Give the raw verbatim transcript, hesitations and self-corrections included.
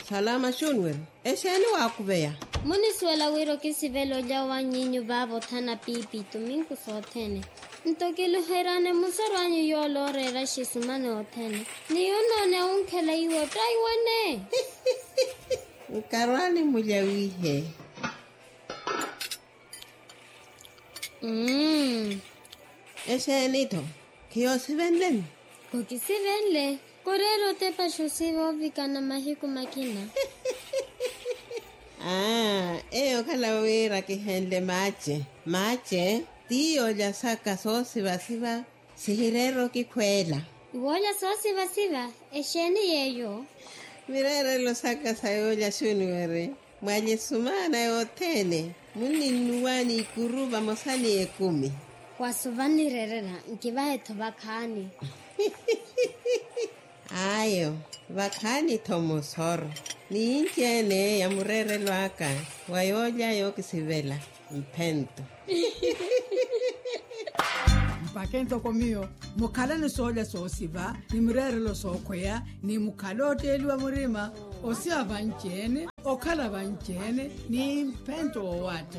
Salama xunweri. Exeeni waakuveya? Munisuwela wira okisivela olya wanyinyu vaavothana piipi tuminku sothene. Nto kiluheryaani musorwanyu yoola ooreera xisumani othene. Ni yunooneya wunkhela iwe ottaiwene. Nkarwaani mulya wiihe. Mmm. Exeeni-tho? Khiyoosivenleni? Khokisivenle. Koreera otepaxa osiva ovikana mahiku makina. Aa, eyo okhala wira kihenle maace. Maace ti yoolya saka soosivasiva. Sihireera okikhweela. Iwoolya soosivasiva? Exeeni yeeyo? Mireerelo saka sa yoolya xuniweri. Mwalye sumaana yothene munninnuwa n'ikuru vamosa ni ekumi. Wasuva nnireerela nkivahe-tho vakhaani. Ayo, vakhaani-tho musoro. Ni inci-ene ya mureerelo aka wa yoolya yookisivela. Mphento. Mpakhe ntoko miyo mukhala ni soolya soosiva ni mireerelo sookhweya ni mukhala ootteeliwa murima osiva vanci-ene okhala vanci-ene ni mphento woowaatta.